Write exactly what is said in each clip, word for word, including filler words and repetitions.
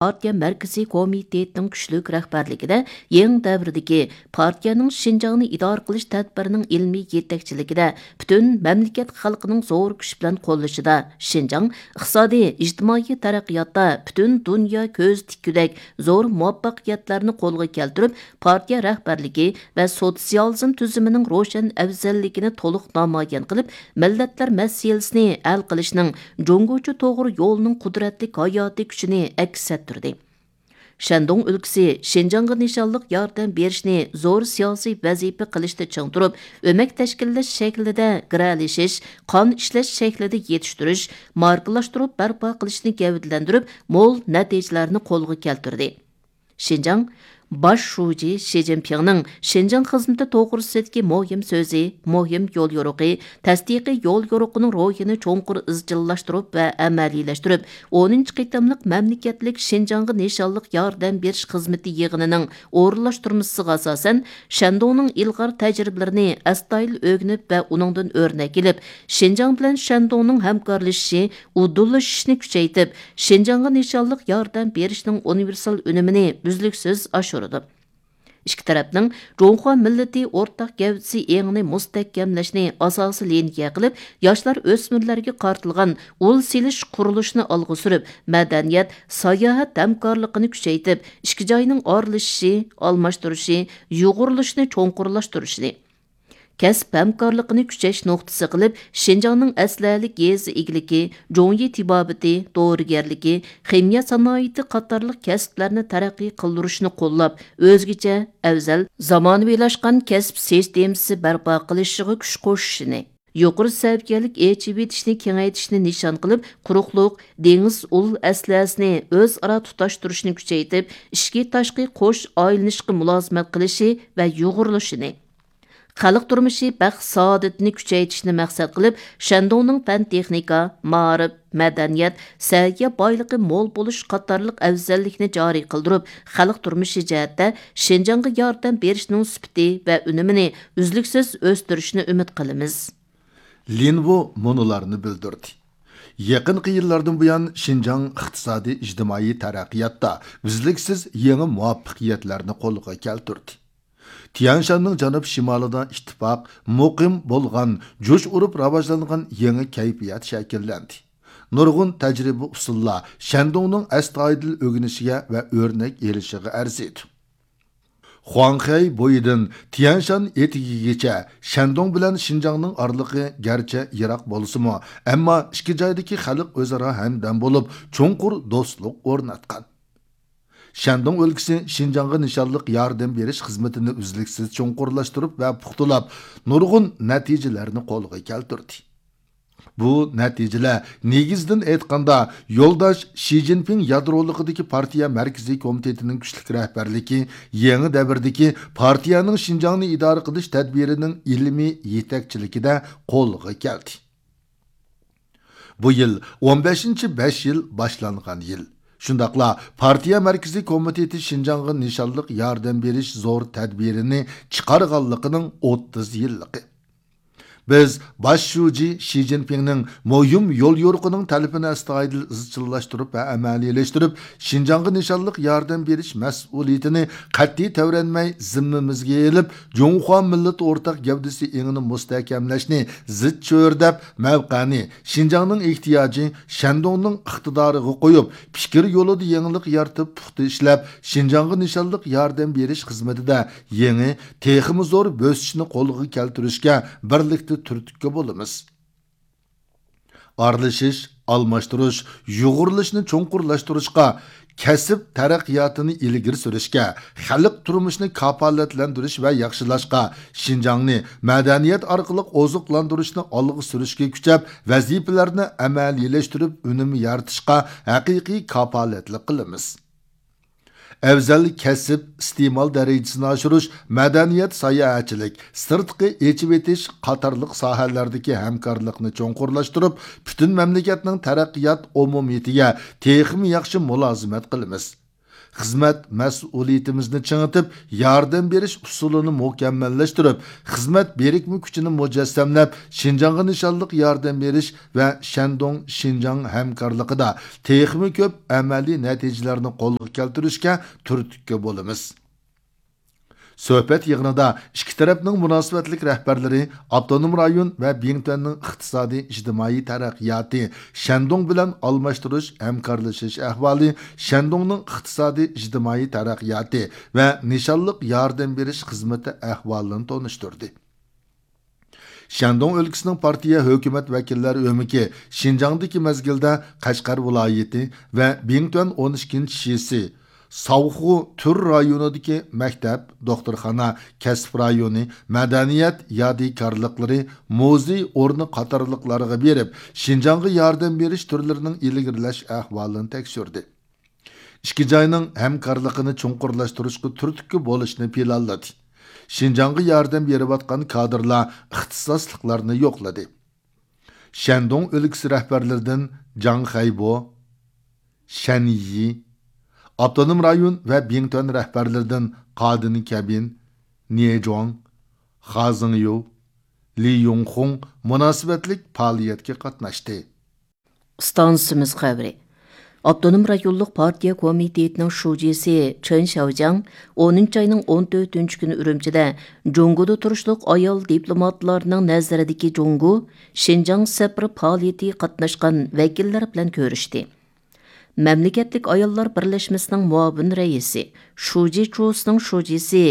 پارتىيە مەركىزىي كومىتېتىنىڭ كۈچلۈك رەھبەرلىكىدە يېڭى دەۋردىكى پارتىيەنىڭ شىنجاڭنى ئىدارە قىلىش تەدبىرىنىڭ ئىلمىي يېتەكچىلىكىدە پۈتۈن مەملىكەت خەلقىنىڭ زور كۈچ بىلەن قوللىشىدا شىنجاڭ ئىقتىسادىي، ئىجتىمائىي تەرەققىياتتا پۈتۈن دۇنيا كۆز تىككۈدەك زور مۇۋەپپەقىيەتلەرنى قولغا كەلتۈرۈپ، پارتىيە رەھبەرلىكى ۋە سوتسىيالىزم تۈزۈمىنىڭ روشەن ئەۋزەللىكىنى تولۇق نامايان قىلىپ، مىللەتلەر مەسىلىسىنى ھەل قىلىشنىڭ جۇڭگوچە توغرا يولىنىڭ قۇدرەتلىك ھاياتىي كۈچىنى ئەكس ئەتتۈردى. شەندۇڭ ئۆلكىسى شىنجاڭغا نىشانلىق ياردەم بېرىشنى زور سىياسىي ۋەزىپە قىلىشتا چىڭ تۇرۇپ، ئۆمەك تەشكىللەش شەكلىدە گىرەلىشىش، قان ئىشلەش شەكلىدە يېتىشتۈرۈش، ماركىلاشتۇرۇپ بەرپا قىلىشنى گەۋدىلەندۈرۈپ، مول نەتىجىلەرنى قولغا كەلتۈردى. شىنجاڭ باش شۇجى شى جىنپىڭنىڭ شىنجاڭ خىزمىتى توغرىسىدىكى مۇھىم سۆزى، مۇھىم يوليورۇقى، تەستىقىي يوليورۇقىنىڭ روھىنى چوڭقۇر ئىزچىللاشتۇرۇپ ۋە ئەمەلىيلەشتۈرۈپ، ئونىنچى قېتىملىق مەملىكەتلىك شىنجاڭغا نىشانلىق ياردەم بېرىش خىزمىتى يىغىنىنىڭ ئورۇنلاشتۇرمىسىغا ئاساسەن، شەندۇڭنىڭ ئىلغار تەجرىبىلىرىنى ئەستايىدىل ئۆگىنىپ ۋە ئۇنىڭدىن ئۆرنەك ئېلىپ، شىنجاڭ بىلەن شەندۇڭنىڭ ھەمكارلىشىشى، ئۇدۇللىشىشنى كۈچەيتىپ، شىنجاڭغا نىشانلىق ياردەم بېرىشنىڭ ئۇنىۋېرسال ئۈنۈمىنى ئۈزلۈكسىز ئاشۇرىدۇ. ئىككى تەرەپنىڭ جۇڭخۇا مىللىتى ئورتاق گەۋدىسى ئېڭىنى مۇستەھكەملەشنى ئاساسىي لىنىيە قىلىپ، ياشلار، ئۆسمۈرلەرگە قارىتىلغان ئۇل سېلىش قۇرۇلۇشىنى ئالغا سۈرۈپ، مەدەنىيەت، ساياھەت ھەمكارلىقىنى كۈچەيتىپ، ئىككى جاينىڭ ئارىلىشىشى، ئالماشتۇرۇشى، يۇغۇرۇلۇشىنى چوڭقۇرلاشتۇرۇشنى، كەسىپ ھەمكارلىقىنى كۈچەش نۇقتىسى قىلىپ، شىنجاڭنىڭ ئەسلىھەلىك يېزا ئىگىلىكى، جۇڭيى تېبابىتى، دورىگەرلىكى، خىمىيە سانائىتى قاتارلىق كەسىپلەرنى تەرەققىي قىلدۇرۇشنى قوللاپ، ئۆزگىچە، ئەۋزەل، زامانىۋىلاشقان كەسىپ سىستېمىسى بەرپا قىلىشىغا كۈچ قوشۇشىنى، يۇقىرى سەۋىيەلىك ئېچىۋېتىشنى كېڭەيتىشنى نىشان قىلىپ، قۇرۇقلۇق، دېڭىز ئۇل ئەسلىھەسىنى ئۆزئارا تۇتاشتۇرۇشنى كۈچەيتىپ، ئىچكى، تاشقى قوش ئايلىنىشقا مۇلازىمەت قىلىشى ۋە يۇغۇرۇلۇشىنى، خەلق تۇرمۇشى بەخت-سائادىتىنى كۈچەيتىشنى مەقسەت قىلىپ، شەندۇڭنىڭ پەن-تېخنىكا، مائارىپ، مەدەنىيەت، سەھىيە بايلىقى مول بولۇش قاتارلىق ئەۋزەللىكنى جارى قىلدۇرۇپ، خەلق تۇرمۇشى جەھەتتە شىنجاڭغا ياردەم بېرىشنىڭ سۈپىتى ۋە ئۈنۈمىنى ئۈزلۈكسىز ئۆستۈرۈشنى ئۈمىد قىلىمىز. لىن ۋۇ مۇنۇلارنى بىلدۈردى. يېقىنقى يىللاردىن بۇيان، شىنجاڭ ئىقتىسادىي، ئىجتىمائىي تەرەققىياتتا ئۈزلۈكسىز يېڭى مۇۋەپپەقىيەتلەرنى قولغا كەلتۈردى. تيەنشاننىڭ جەنۇب شىمالىدا ئىتتىپاق، مۇقىم بولغان، جۇش ئۇرۇپ راۋاجلانغان يېڭى كەيپىيات شەكىللەندى. نۇرغۇن تەجرىبە ئۇسۇللار شەندۇڭنىڭ ئەستايىدىل ئۆگىنىشىگە ۋە ئۆرنەك ئېلىشىغا ئەرزىيدۇ. خۇاڭخەي بويىدىن تيەنشان ئېتىكىگىچە شەندۇڭ بىلەن شىنجاڭنىڭ ئارىلىقى گەرچە يىراق بولسىمۇ، ئەمما ئىككى جايدىكى خەلق ئۆزئارا ھەمدەم بولۇپ، چوڭقۇر دوستلۇق ئورناتقان. شەندۇڭ ئۆلكىسى شىنجاڭغا نىشانلىق ياردەم بېرىش خىزمىتىنى ئۈزلۈكسىز چوڭقۇرلاشتۇرۇپ ۋە پۇختىلاپ، نۇرغۇن نەتىجىلەرنى قولغا كەلتۈردى. بۇ نەتىجىلەر، نېگىزىدىن ئېيتقاندا، يولداش شى جىنپىڭ يادرولۇقىدىكى پارتىيە مەركىزىي كومىتېتىنىڭ كۈچلۈك رەھبەرلىكى، يېڭى دەۋردىكى پارتىيەنىڭ شىنجاڭنى ئىدارە قىلىش تەدبىرىنىڭ ئىلمىي يېتەكچىلىكىدە قولغا كەلدى. بۇ يىل ئون بەشىنچى بەش يىل باشلانغان يىل. شۇنداقلا پارتىيە مەركىزىي كومىتېتى شىنجاڭغا نىشانلىق ياردەم بېرىش زور تەدبىرىنى چىقارغانلىقىنىڭ ئوتتۇز يىللىقى. بىز باش شۇجى شى جىنپىڭنىڭ مۇھىم يوليورۇقىنىڭ تەلىپىنى ئەستايىدىل ئىزچىللاشتۇرۇپ ۋە ئەمەلىيلەشتۈرۈپ، شىنجاڭغا نىشانلىق ياردەم بېرىش مەسئۇلىيىتىنى قەتئىي تەۋرەنمەي زىممىمىزگە ئېلىپ، جۇڭخۇا مىللىتى ئورتاق گەۋدىسى ئېڭىنى مۇستەھكەملەشنى زىچ چۆرىدەپ، مەۋقەنى شىنجاڭنىڭ ئېھتىياجى، شەندۇڭنىڭ ئىقتىدارىغا قويۇپ، پىكىر يولىدا يېڭىلىق يارىتىپ، پۇختا ئىشلەپ، شىنجاڭغا نىشانلىق ياردەم بېرىش خىزمىتىدە يېڭى، تېخىمۇ زور بۆسۈشنى قولغا كەلتۈرۈشكە بىرلىكتە تۈرتكە بولىمىز. ئارىلىشىش، ئالماشتۇرۇش، يۇغۇرۇلۇشنى چوڭقۇرلاشتۇرۇشقا، كەسىپ تەرەققىياتىنى ئىلگىرى سۈرۈشكە، خەلق تۇرمۇشىنى كاپالەتلەندۈرۈش ۋە ياخشىلاشقا، شىنجاڭنى مەدەنىيەت ئارقىلىق ئوزۇقلاندۇرۇشنى ئالغا سۈرۈشكە كۈچەپ، ۋەزىپىلەرنى ئەمەلىيلەشتۈرۈپ، ئۈنۈم يارىتىشقا ھەقىقىي كاپالەتلىك قىلىمىز. ئەۋزەل كەسىپ ئىستېمال دەرىجىسىنى ئاشۇرۇش، مەدەنىيەت، ساياھەتچىلىك، سىرتقى ئېچىۋېتىش قاتارلىق ساھەلەردىكى ھەمكارلىقنى چوڭقۇرلاشتۇرۇپ، پۈتۈن مەملىكەتنىڭ تەرەققىيات ئومۇمىيىتىگە تېخىمۇ ياخشى مۇلازىمەت قىلىمىز. خىزمەت مەسئۇلىيىتىمىزنى چىڭىتىپ، ياردەم بېرىش ئۇسۇلىنى مۇكەممەللەشتۈرۈپ، خىزمەت بىرىكمە كۈچىنى مۇجەسسەملەپ، شىنجاڭغا نىشانلىق ياردەم بېرىش ۋە شەندۇڭ شىنجاڭ ھەمكارلىقىدا تېخىمۇ كۆپ ئەمەلىي نەتىجىلەرنى قولغا كەلتۈرۈشكە تۈرتكە بولىمىز. سۆھبەت يىغىنىدا ئىككى تەرەپنىڭ مۇناسىۋەتلىك رەھبەرلىرى ئاپتونوم رايون ۋە بىڭتۈەننىڭ ئىقتىسادىي ئىجتىمائىي تەرەققىياتى، شەندۇڭ بىلەن ئالماشتۇرۇش، ھەمكارلىشىش ئەھۋالى، شەندۇڭنىڭ ئىقتىسادىي ئىجتىمائىي تەرەققىياتى ۋە نىشانلىق ياردەم بېرىش خىزمىتى ئەھۋالىنى تونۇشتۇردى. شەندۇڭ ئۆلكىسىنىڭ پارتىيە ھۆكۈمەت ۋەكىللەر ئۆمىكى شىنجاڭدىكى مەزگىلدە قەشقەر ۋىلايىتى ۋە بىڭتۈەن ئون ئىككىنچى شىسى، ساۋخۇ تۈر رايونىدىكى مەكتەپ، دوختۇرخانا، كەسىپ رايونى، مەدەنىيەت يادىكارلىقلىرى، مۇزېي ئورنى قاتارلىقلارغا بېرىپ، شىنجاڭغا ياردەم بېرىش تۈرلىرىنىڭ ئىلگىرىلەش ئەھۋالىنى تەكشۈردى. ئىككى جاينىڭ ھەمكارلىقىنى چوڭقۇرلاشتۇرۇشقا تۈرتكە بولۇشنى پىلانلىدى. شىنجاڭغا ياردەم بېرىۋاتقان كادىرلار ئىختىساسلىقلارنى يوقلىدى. شەندۇڭ ئۆلكىسى رەھبەرلىرىدىن جاڭ خەيبو، شەن يى، ئاپتونوم رايون ۋە بىڭتۈەن رەھبەرلىرىدىن قادىن كەبىن، نىيې جۇاڭ، خا زېڭيۇ، لى يۇڭخۇڭ مۇناسىۋەتلىك پائالىيەتكە قاتناشتى. ئىستانسىمىز خەۋىرى. ئاپتونوم رايونلۇق پارتىيە كومىتېتىنىڭ شۇجىسى چېن شياۋجياڭ ئونىنچى ئاينىڭ ئون تۆتىنچى كۈنى ئۈرۈمچىدە جۇڭگودا تۇرۇشلۇق ئايال دىپلوماتلارنىڭ نەزىرىدىكى جۇڭگو شىنجاڭ سەپىرى پائالىيىتىگە قاتناشقان ۋەكىللەر بىلەن كۆرۈشتى. مەملىكەتلىك ئاياللار بىرلەشمىسىنىڭ مۇئاۋىن رەئىسى، شۇجى چۇسنىڭ شۇجىسى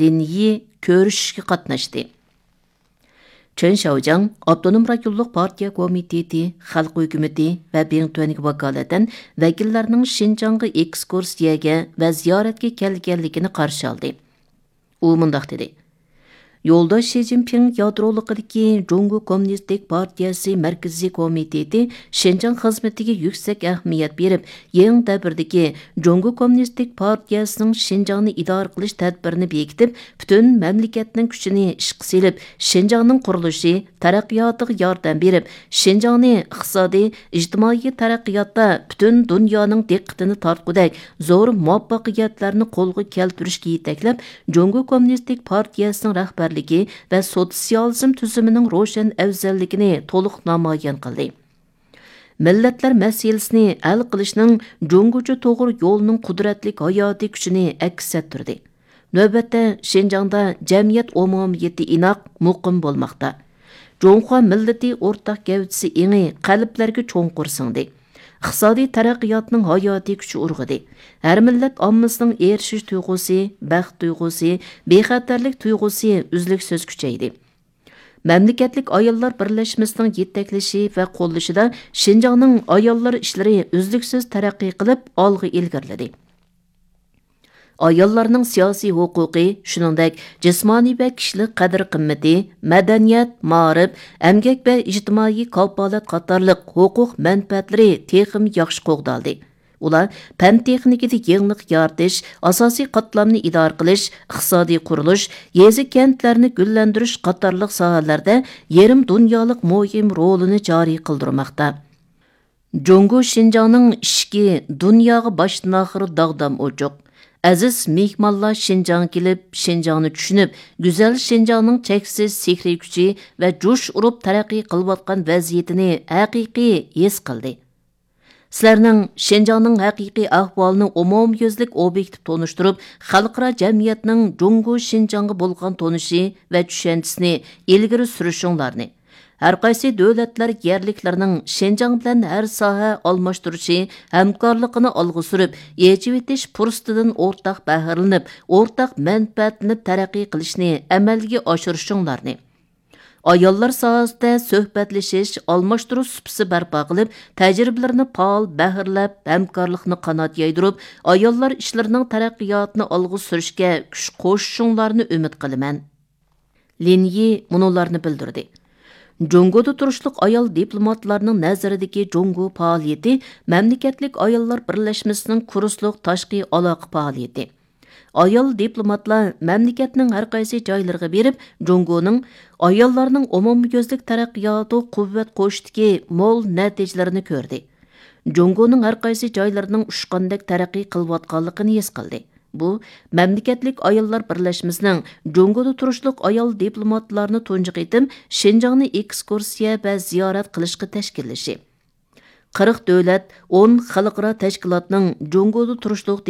لىن يى كۆرۈشۈشكە قاتناشتى. چېن شياۋجياڭ ئاپتونوم رايونلۇق پارتىيە كومىتېتى، خەلق ھۆكۈمىتى ۋە بىڭتۈەنگە ۋاكالىتەن ۋەكىللەرنىڭ شىنجاڭغا ئېكسكۇرسىيەگە ۋە زىيارەتكە كەلگەنلىكىنى قارشى ئالدى. ئۇ مۇنداق دېدى: يولداش شى جىنپىڭ يادرولۇقىدىكى جۇڭگو كوممۇنىستىك پارتىيەسى مەركىزىي كومىتېتى شىنجاڭ خىزمىتىگە يۈكسەك ئەھمىيەت بېرىپ، يېڭى دەۋردىكى جۇڭگو كوممۇنىستىك پارتىيەسىنىڭ شىنجاڭنى ئىدارە قىلىش تەدبىرىنى بېكىتىپ، پۈتۈن مەملىكەتنىڭ كۈچىنى ئىشقا سېلىپ، شىنجاڭنىڭ قۇرۇلۇشى، تەرەققىياتىغا ياردەم بېرىپ، شىنجاڭنى ئىقتىسادىي، ئىجتىمائىي تەرەققىياتتا پۈتۈن دۇنيانىڭ دىققىتىنى تارتقۇدەك زور مۇۋەپپەقىيەتلەرنى قولغا كەلتۈرۈشكە يېتەكلەپ، جۇڭگو كوممۇنىستىك پارتىيەسىنىڭ رەھبەرلىكى ۋە سوتسىيالىزم تۈزۈمىنىڭ روشەن ئەۋزەللىكىنى تولۇق نامايان قىلدى. مىللەتلەر مەسىلىسىنى ھەل قىلىشنىڭ جۇڭگوچە توغرا يولىنىڭ قۇدرەتلىك ھاياتىي كۈچىنى ئەكس ئەتتۈردى. نۆۋەتتە، شىنجاڭدا جەمئىيەت ئومۇمىيىتى ئىناق، مۇقىم بولماقتا. جۇڭخۇا مىللىتى ئورتاق گەۋدىسى ئېڭى قەلبلەرگە چوڭقۇر سىڭدى. ئىقتىسادىي تەرەققىياتنىڭ ھاياتىي كۈچى ئۇرغۇدى. ھەر مىللەت ئاممىسىنىڭ ئېرىشىش تۇيغۇسى، بەخت تۇيغۇسى، بىخەتەرلىك تۇيغۇسى ئۈزلۈكسىز كۈچەيدى. مەملىكەتلىك ئاياللار بىرلەشمىسىنىڭ يېتەكلىشى ۋە قوللىشىدا شىنجاڭنىڭ ئاياللار ئىشلىرى ئۈزلۈكسىز تەرەققىي قىلىپ، ئالغا ئىلگىرىلىدى. ئاياللارنىڭ سىياسىي ھوقۇقى، شۇنىڭدەك جىسمانىي ۋە كىشىلىك قەدىر-قىممىتى، مەدەنىيەت، مائارىپ، ئەمگەك ۋە ئىجتىمائىي كاپالەت قاتارلىق ھوقۇق مەنپەئەتلىرى تېخىمۇ ياخشى قوغدالدى. ئۇلار پەن-تېخنىكىدا يېڭىلىق يارىتىش، ئاساسىي قاتلامنى ئىدارە قىلىش، ئىقتىسادىي قۇرۇلۇش، يېزا-كەنتلەرنى گۈللەندۈرۈش قاتارلىق ساھەلەردە يېرىم دۇنيالىق مۇھىم رولىنى جارى قىلدۇرماقتا. جۇڭگو شىنجاڭنىڭ ئىشىكى دۇنياغا باشتىن-ئاخىر داغدام ئوچۇق. ئەزىز مېھمانلار شىنجاڭغا كېلىپ، شىنجاڭنى چۈشىنىپ، گۈزەل شىنجاڭنىڭ چەكسىز سېھرىي كۈچى ۋە جۇش ئۇرۇپ تەرەققىي قىلىۋاتقان ۋەزىيىتىنى ھەقىقىي ھېس قىلدى. سىلەرنىڭ شىنجاڭنىڭ ھەقىقىي ئەھۋالىنى ئومۇميۈزلۈك ئوبيېكتىپ تونۇشتۇرۇپ، خەلقئارا جەمئىيەتنىڭ جۇڭگو شىنجاڭغا بولغان تونۇشى ۋە چۈشەنچىسىنى ئىلگىرى سۈرۈشۈڭلارنى، ھەرقايسى دۆلەتلەر يەرلىكلىرىنىڭ شىنجاڭ بىلەن ھەر ساھە ئالماشتۇرۇشى، ھەمكارلىقىنى ئالغا سۈرۈپ، ئېچىۋېتىش پۇرسىتىدىن ئورتاق بەھرىلىنىپ، ئورتاق مەنپەئەتلىنىپ تەرەققىي قىلىشنى ئەمەلگە ئاشۇرۇشۇڭلارنى، ئاياللار ساھەسىدە سۆھبەتلىشىش، ئالماشتۇرۇش سۇپىسى بەرپا قىلىپ، تەجرىبىلىرىنى پائال بەھرىلەپ، ھەمكارلىقنى قانات يايدۇرۇپ، ئاياللار ئىشلىرىنىڭ تەرەققىياتىنى ئالغا سۈرۈشكە كۈچ قوشۇشۇڭلارنى ئۈمىد قىلىمەن. لىن يى مۇنۇلارنى بىلدۈردى: جۇڭگودا تۇرۇشلۇق ئايال دىپلوماتلارنىڭ نەزىرىدىكى جۇڭگو پائالىيىتى مەملىكەتلىك ئاياللار بىرلەشمىسىنىڭ كۇرسلۇق تاشقى ئالاقە پائالىيىتى. ئايال دىپلوماتلار مەملىكەتنىڭ ھەرقايسى جايلىرىغا بېرىپ، جۇڭگونىڭ ئاياللارنىڭ ئومۇميۈزلۈك تەرەققىياتىغا قۇۋۋەت قوشۇشتىكى مول نەتىجىلىرىنى كۆردى. جۇڭگونىڭ ھەر قايسى جايلىرىنىڭ ئۇچقاندەك تەرەققىي قىلىۋاتقانلىقىنى ھېس قىلدى. بۇ مەملىكەتلىك ئاياللار بىرلەشمىسىنىڭ جۇڭگودا تۇرۇشلۇق ئايال دىپلوماتلارنى تۇنجى قېتىم شىنجاڭنى ئېكسكۇرسىيە ۋە زىيارەت قىلىشقا تەشكىللىشى. قىرىق دۆلەت، ئون خەلقئارا تەشكىلاتنىڭ جۇڭگودا تۇرۇشلۇق